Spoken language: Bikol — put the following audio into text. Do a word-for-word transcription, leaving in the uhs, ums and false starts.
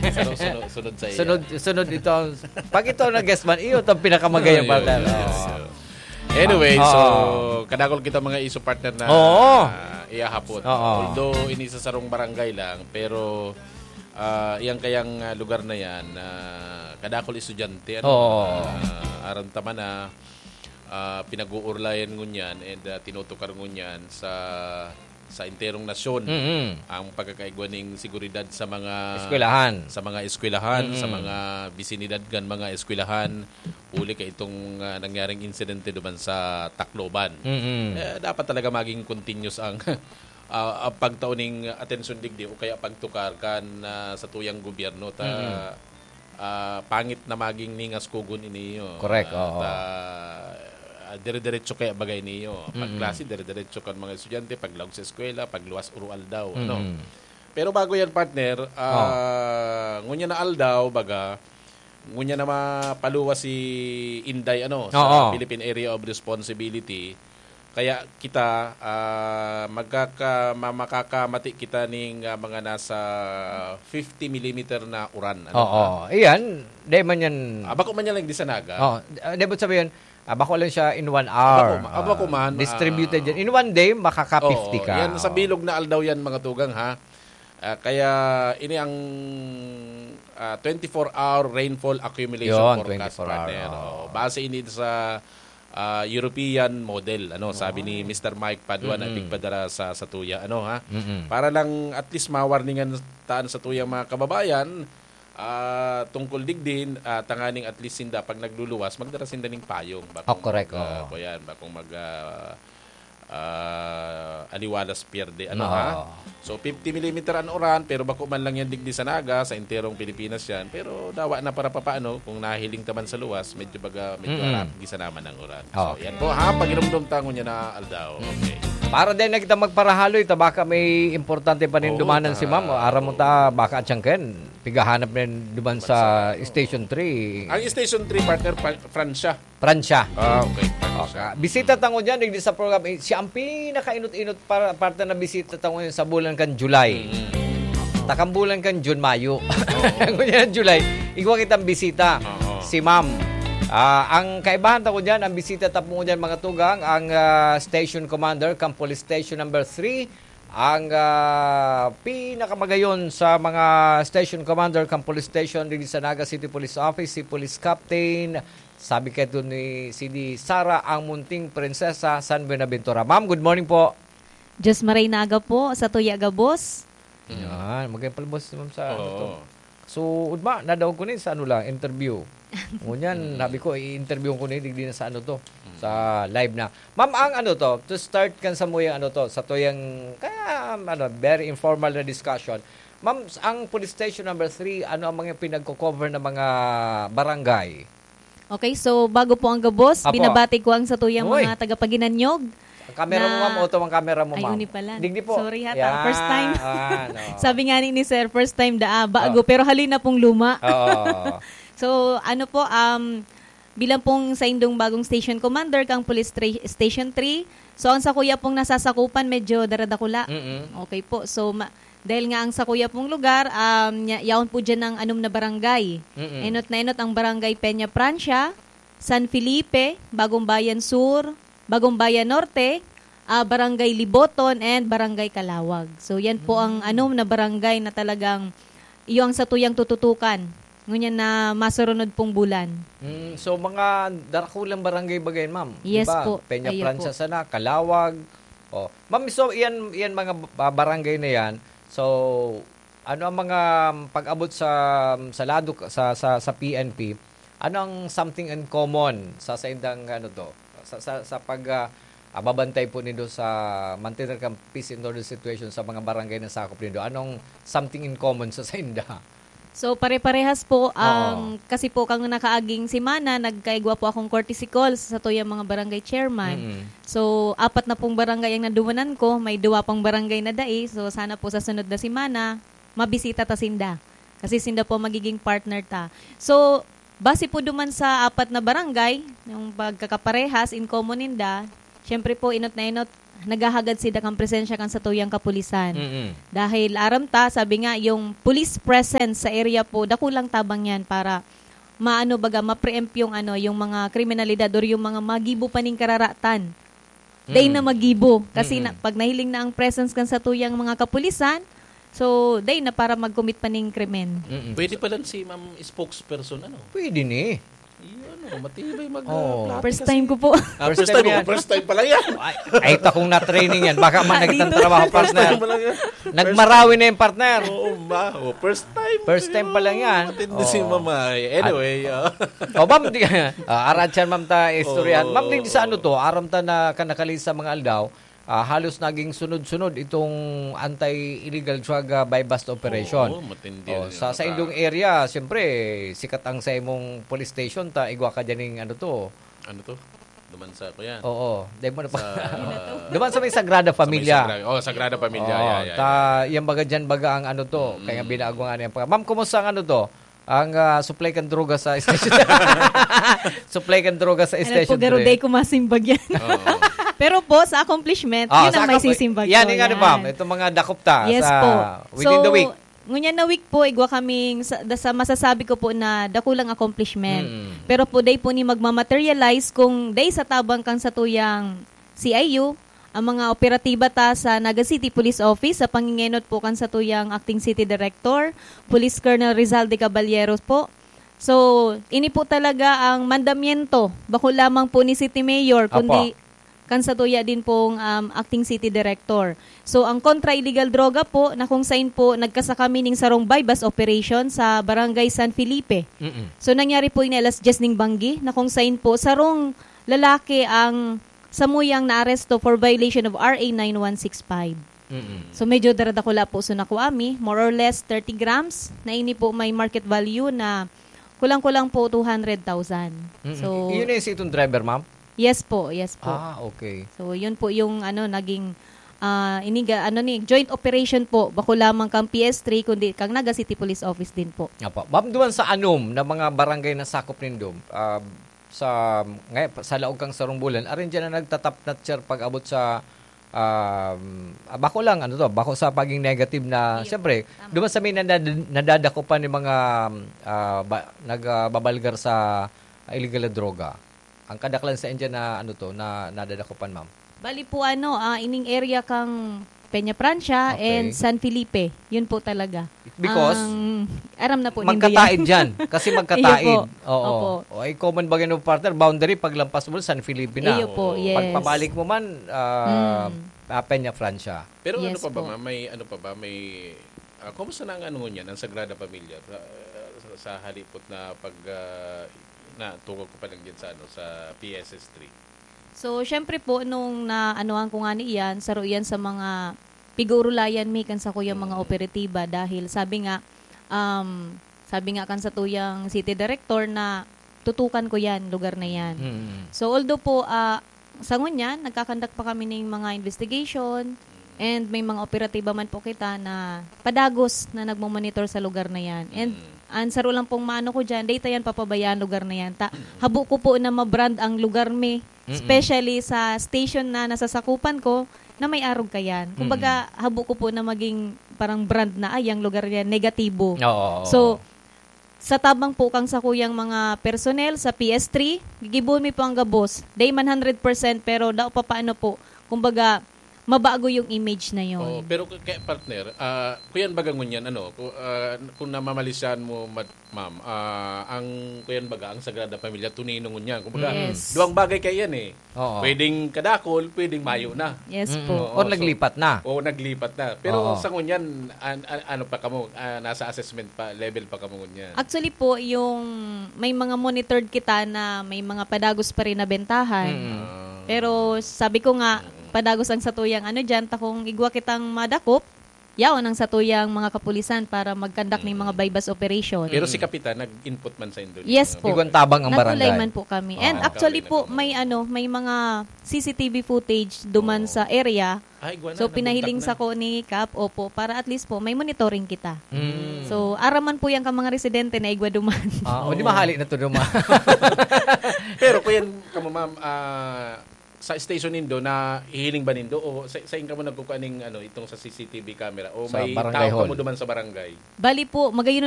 Sunod, sunod, sunod sa iya. Sunod, sunod ito. Pag ito ang guest man, iyo itong pinakamagayang Ayun, partner. yun, Oo. yun. Anyway, Ah, so, oo. kadakol kita mga iso partner na Oo. iyahapon. Oo. Although, ini sa sarong barangay lang, pero, ah, iyang kayang, ah, lugar na yan, ah, kadakol estudyante, ano, Oo. ah, aram ta man na, ah, pinag-uurlayan ngunyan and, ah, tinutukar ngunyan sa, sa enterong nasyon Mm. ang pagkakaigwa ning seguridad sa mga Eskwelahan. sa mga eskwelahan, sa Mm. mga bisinidad kan mga eskwelahan, huli ka itong, ah, nangyaring insidente duman sa Tacloban. Mm. Eh, dapat talaga maging continuous ang, ah, ang pagtao ning atensyon digdi o kaya pagtukar kan, ah, sa tuyang gobyerno ta Mm. ah, pangit na maging ningas kugon ini, oh. Correct, Ah, oo. ta-, ah, dire-diretso kaya bagay niyo. Pag Mm. klase, dire-diretso kan mga estudyante, paglaog sa eskwela, pagluwas, uro-aldaw, ano. Mm. Pero bago yan, partner, Oh. ah, ngunyan na aldaw, baga, ngunyan na mapaluwas si Inday, ano, sa Oo. Philippine Area of Responsibility. Kaya kita, ah, magkaka-, ma-, makakamati kita ning, ah, mga nasa fifty millimeter na uran, ano, Oo. ha? Iyan, di man yan Ah, bako man yan lang di sa Naga. Oo. Ah, di ba sabihin, ah, bako lang siya in one Ah, hour. bako ma-, ah, bako Ah, man, distributed ah, yan. In one day, makaka-fifty oo, ka. yan sa Oo. bilog na aldaw yan, mga tugang, ha? Ah, kaya ini ang, ah, twenty-four hour rainfall accumulation Yun, forecast, twenty-four hour, partner. oo. Oo, base ini sa, ah, European model, ano, sabi ni Oo. Mister Mike Padua na Mm-mm. tigpadara sa, sa tuya, ano, ha? Mm-mm. Para lang at least ma-warningan taan sa tuyang mga kababayan, ah, tungkol digdi, ah, tanganing at least sinda, pag nagluluwas, magdara sinda ning payong. Oh, Bakong correct, mag, ah, oo. kuyan, bakong mag, ah, ah, aliwalas pierde, ano, Oo. ha? So, fifty millimeter an uran, pero bako man lang yan digdi sa Naga, sa enterong Pilipinas yan. Pero dawa na para papaano, kung nahiling ta man sa luwas, medyo baga, medyo Mm-mm. harap, gisa naman ang uran. So, Okay. yan po, ha? Pagirumdom tango niya na aldaw. Mm. Okay. Para din na kita magparahaloy, ta baka may importante pa rin Oo, dumanan si ta-, ma'am. O, aram mo ta, baka atsangken, pigahanap na rin duman sa Bansa. Station three. Ang Station three, partner, pa-, Francia. Francia. Ah, okay. Okay. Bisita tango dyan, digdi sa program, eh, siya ang pinakainot-inot para, parte na bisita tango yun sa bulan kan July. Mm. Takang bulan kan June, Mayo. Oo. Ngunyan, July, igwa kitang bisita. Oo. Si ma'am. Ah, ang kaibahan tango dyan, ang bisita ta po dyan, mga tugang, ang, ah, station commander, kang police station number three, ang, ah, pinakamagayon sa mga station commander, kang police station, digdi sa Naga City Police Office, si Police Captain Sabi kaidto ni C D Sara, ang munting prinsesa, San Buenaventura. Ma'am, good morning po. Diyos maray na aga po, sa tuya gabos. Mm. Yan, magandang palabas, ma'am, sa ano to. Oo. So, udma, nadaog ko ni sa ano lang, interview. Ngunyan, Mm. sabi ko, i-interview ko ni, digdi na sa ano to, Mm. sa live na. Ma'am, ang ano to, to start kan sa muyang ano to, sa tuyang, kaya, ano, very informal na discussion. Ma'am, ang police station number three, ano ang mga pinagko-cover na mga barangay? Okay, so bago po ang gabos, Apo. binabati ko ang satuyang Uy. mga tagapaginanyog Ang camera mo, na ma'am, auto ang camera mo, Ay, ma'am. uni pala. Digdi po. Sorry ha, ta-, Yan. first time. Ah, no. Sabi nga ni, ni sir, first time daa, bago, Oh. pero haloy na pong luma. Oo. So, ano po, um, bilang pong saindong bagong station commander kang Police Tra-, Station three, so ang sakuya pong nasasakupan, medyo daradakula. Mm-mm. Okay po. So, ma-, dahil nga ang sakuya pong lugar, um, nya-, yaon po dyan ang anom na barangay. Mm-mm. Enot na enot ang barangay Peña Francia, San Felipe, Bagong Bayan Sur, Bagong Bayan Norte, ah, Barangay Liboton, and Barangay Calawag. So, yan po ang Mm. anom na barangay na talagang iyo ang satuyang tututukan ngunyan na masurunod pong bulan. Mm, so, mga darakulang barangay ba yan, ma'am? Di Yes ba? po. Peña Ayun Francia po. sana, Calawag. Oh. Ma'am, so, iyan, iyan mga ba-, barangay na yan. So, ano ang mga, um, pag-abot sa, sa lado, sa, sa, sa P N P? Ano ang something in common sa saindang, ano to? Sa, sa, sa pag, ah, ah, babantay po nindo sa mantener kan peace and order situation sa mga barangay na sakop nindo? Anong something in common sa sainda? So, pare-parehas po Oo. ang, kasi po kang nakaaging semana, nagkaigwa po akong courtesy call sa satuyang mga barangay chairman. Mm-mm. So, apat na pong barangay ang nadumanan ko, may duwa pang barangay na dai. So, sana po sa sunod na semana, mabisita ta sinda. Kasi sinda po magiging partner ta. So, base po duman sa apat na barangay, yung pagkakaparehas, in common ninda, syempre po, enot na enot, naghahagad sinda kan presensya kan satuyang kapulisan. Mm-mm. Dahil aram ta, sabi nga, yung police presence sa area po, dakulang tabang yan para maano baga, ma-preempt yung ano, yung mga kriminalidad or yung mga magibo pa ning kararatan. Dai Mm. na magibo. Kasi Mm-mm. na, pag nahiling na ang presence kan satuyang mga kapulisan, so, dai na para mag-commit pa ning krimen. Mm-mm. Pwede pala si ma'am spokesperson, ano? Pwede ni. Iyo, ano, matibay mag, Oo. ah, plati First kasi. time ko po. Ah, First first time time mo, yan. First time pala yan. Ay, ay, takong na-training yan. Baka man Dito. nagtatrabaho, First partner. time pala yan. Nagmarawi na yung partner. Oo, ma. Oh, first time. First time pa lang yan. Matindi si Oo. mama. Anyway, At, ah. oh, ma'am, di, ah, arat siya, ma'am, ta istoryahan. Oo. Ma'am, di sa ano to, aram ta na kanakali sa mga aldaw, ah, halos naging sunod-sunod itong anti-illegal drug, ah, buy-bust operation. Oo, matindi Oh, rin sa, yun. sa indong area, siyempre, sikat ang sa imong police station, ta igwa ka dyan ng ano to. Ano to? Duman sa, kuya? Oo, dahil mo na pa. Sa Duman sa may Sagrada Sa may Familia. Sagrada, oh, Sagrada Familia, Oo, yeah, yeah, ta, yeah. yan baga dyan, baga ang ano to, Mm. kaya binago nga niya pa. Ma'am, kumusta ang ano to? Ang, ah, supply kan droga sa station. Supply kan droga sa Ano station po, Garuday three. ko masimbag yan. Oo. Pero po, sa accomplishment, Oh, yun sa ang may accom-, sisimbag yan, ko, yung ano, yan. ma'am, itong mga dakop ta Yes sa po. within So, the week. ngunyan na week po, igwa kaming sa, da-, sa masasabi ko po na dakulang accomplishment. Mm. Pero po, day po ni magmamaterialize kung day sa tabang kang satuyang C I U, ang mga operatiba ta sa Naga City Police Office sa pangingenot po kan satuyang Acting City Director, Police Colonel Rizal de Caballeros po. So, ini po talaga ang mandamiento, bako lamang po ni City Mayor, Apo. kundi kan satuya din pong, um, Acting City Director. So, ang kontra illegal droga po, na kung sain po, nagkasa kami ning sarong buy-bust operation sa Barangay San Felipe. Mm-mm. So, nangyari po ini alas dyes ning banggi, na kung sain po, sarong lalaki ang samuyang naaresto for violation of R A nine one six five. Mm-mm. So, medyo daradakula po. So, nakuha mi, more or less thirty grams, na ini po may market value na kulang-kulang po two hundred thousand. Mm-mm. So, Yun na yung sa itong driver, ma'am? Yes po, yes po. Ah, okay. So, yun po yung, ano, naging, ah, iniga-, ano ni, joint operation po. Bako lamang kang P S three, kundi kang Naga City Police Office din po. Apo. Ma'am, duman sa anom na mga barangay na sakop nindo, ah, sa, ngay-, sa laog kang sarong bulan, arin dyan na nagtatapnat, sir, pag-abot sa, um, ah, bako lang, ano to, bako sa paging negative na, Iyo. siyempre, Tama. duman sa may nadad-, nadadakupan ni mga, ah, ba-, nag, ah, babalgar sa illegal na droga. Ang kadaklan sa India na, ano to, na nadadakupan, ma'am? Bali po, ano, ah, ining area kang Peña Francia Okay. and San Felipe. Yun po talaga. Because Ang, aram na po nindo magkataid yan. dyan. Kasi magkataid. Iyo po. Oo. Opo. O, ay common ba yun, partner? Boundary, paglampas mo, San Felipe na. Iyo po, Oo. yes. Pagpabalik mo man, ah, Mm. ah, Peña Francia. Pero ano Yes pa ba, po. ma'am? May ano pa ba? May, ah, kumusta na ang ano ngunyan, ang Sagrada Familia? Sa, sa, sa halipot na pag, ah, na tungkol ko pa lang dyan sa, ano, sa P S S three. So, syempre po, nung naanuhan ko nga ni iyan, saro iyan sa mga pigurulayan mi kan sakuyang mga Mm. operatiba dahil sabi nga, um, sabi nga kan satuyang city director na tutukan ko yan, lugar na yan. Mm. So, although po, ah, sa ngunyan, nagkakandak pa kami ning mga investigation and may mga operatiba man po kita na padagos na nagmomonitor sa lugar na yan. And Mm. ang saro lang pong maano ko dyan, data yan papabayaan lugar na yan. Ta, habo ko po na ma-brand ang lugar mi, Mm-mm. especially sa station na nasasakupan ko na may arog kayan. Kumbaga, Mm-mm. habo ko po na maging parang brand na, "Ay, ang lugar yan, negatibo." Oo, oo, So, oo. sa tabang po kang sakuyang mga personnel sa P S three, gigibohon mi po ang gabos. Dai man hundred percent, pero dao pa paano po. Kumbaga, mabago yung image na yon. Oo, pero k-, kaya, partner, ah, kuyan baga ngunyan, ano, ku-, ah, kung namamalisan mo, mad-, ma'am, ah, ang kuyan baga, ang Sagrada Familia, tunay na ngunyan. Kumbaga, Yes. duwang bagay kaya yan eh. Oo. Pwedeng kadakol, pwedeng mayo na. Yes Mm, po. oo, Or so, naglipat na. oo, naglipat na. Pero Oo. sa ngunyan, an-, an-, ano pa kamo, ah, nasa assessment pa, level pa kamo ngunyan? Actually po, yung may mga monitored kita na may mga padagos pa rin na bentahan. Mm. Ah. Pero sabi ko nga, Mm. padagos ang satuyang ano dyan, ta kung igwa kitang madakop, yaon ang satuyang mga kapulisan para mag-conduct ning mga Mm. buy-bust operation. Pero si Mm. Kapitan, nag-input man sa indo Yes ninyo? po. Igwang tabang ang Nag-rely barangay. man po kami. And Ah. actually Nag-rely po, na kamo. may ano, may mga C C T V footage duman Oo. sa area. Ah, igwa na, So, nabuntak pinahiling na. sa ko ni Kap, opo, para at least po, may monitoring kita. Mm. So, araman po yan ka mga residente na igwa duman. Ah, o di Oo. mahali na to duman. Pero kuyan kamo, ma'am, ah, sa station nindo, nahihiling ba nindo o sa, sain kamo nagkukuha ning, ano, itong sa C C T V camera o Sa may barangay tao hall. kamo duman sa barangay? Bali po, magayon